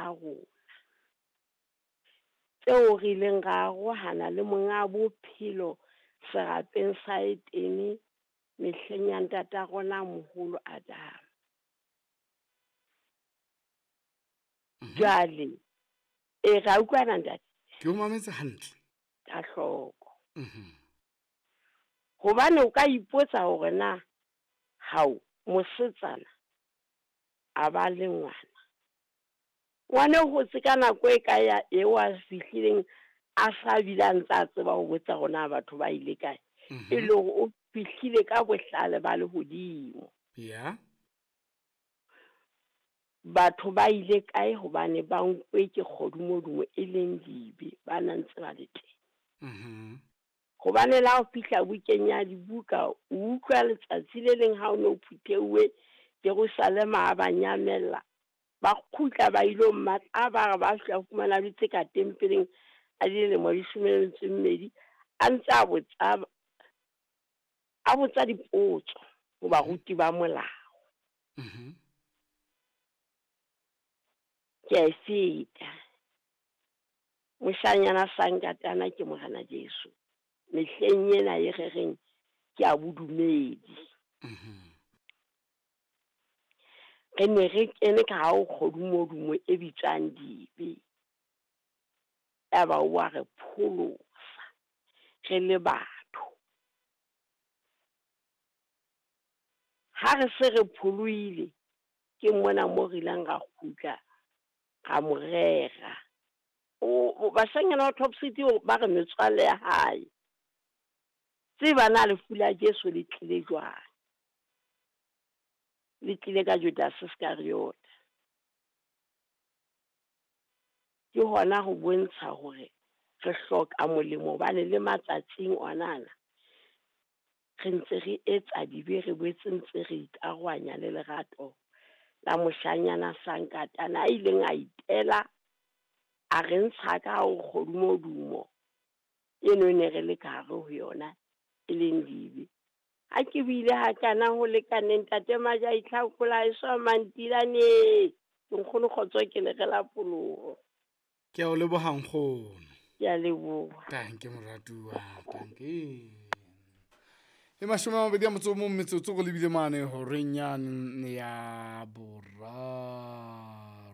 a rona, tseo re ileng ra arohana le Monga Bophelo serapeng sa Etene mehleng ya ntata rona moholo Adama. Jwale e ra utlwana ntate? Ke o mametse hantle. Ka hloko. Hobane o ka ipotsa hore na hao mosetsana a ba le ngwana. Ngwana o hotse ka nako e kae ya eo a fihlileng a sa bile a ntse a tseba ho botsa hore na batho ba ile kae. E le hore o fihlile ka bohlale ba lehodimo. Ya. Batho ba ile kae hobane ba nkwe ke kgodumodumo e leng dibe, ba na ntse ba le teng. Hobane la ho fihla bukeng ya dibuka, o utlwa letsatsi le leng ha o no phutheuwe Jerusalema a ba nyamella, ba kgutla ba ilo mmatla, ba re ba fihla fumana dutse ka tempeleng a dilemo di 12, a ntse a botsa dipotso ho baruti ba molao. Ke a e feta. Moshanyana Sankatana ke Morena Jesu. Mehleng ena e re reng ke a bodumedi. Re ne re kene ka ha o kgodumodumo e bitswang dibe. Yaba o a re pholosa re le batho. Ha re se re pholoile ke mona mo re ileng ra kgutla ra mo rera. O bashanyana ba Top City ba re metswalle ya hae. Tseba na lefu la Jesu le tlile jwang? Le tlile ka Judas Iscariot. Ke hona ho bontsha hore re hloka molemo hobane le matsatsing onana re ntse re etsa dibe, re boetse ntse re ikarohanya le lerato la moshanyana Sankatana a ileng a itela a re ntsha ka ho kgodumodumo eno ne re le ka hare ho yona e leng dibe. Ha ke buile hakana ho lekaneng ntate Maja itlhakola e swa mantilane. Ke nkgono kgotso ke le re la poloho. Ke a o leboha nkgono. Ke a leboha. Tanke moratuwa, tanke. E 21 metsotso go lebile mane horeng yane ya 3.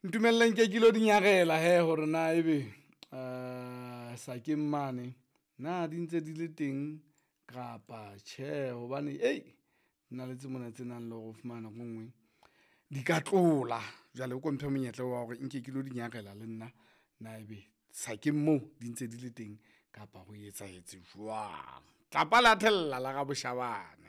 Ntumelleng ke kilo dinyarela he hore na ebe sa ke mane na di ntse di le teng kapa tjhe, hobane ei nna le tse mona tse nang le ho fumana nako nngwe di ka tlola. Jwale o ko mphe monyetla wa hore nke ke lo di nyarela le nna na ebe sa ke moo di ntse di le teng kapa ho etsahetse jwang. Tlapa la thella la ga Boshabane.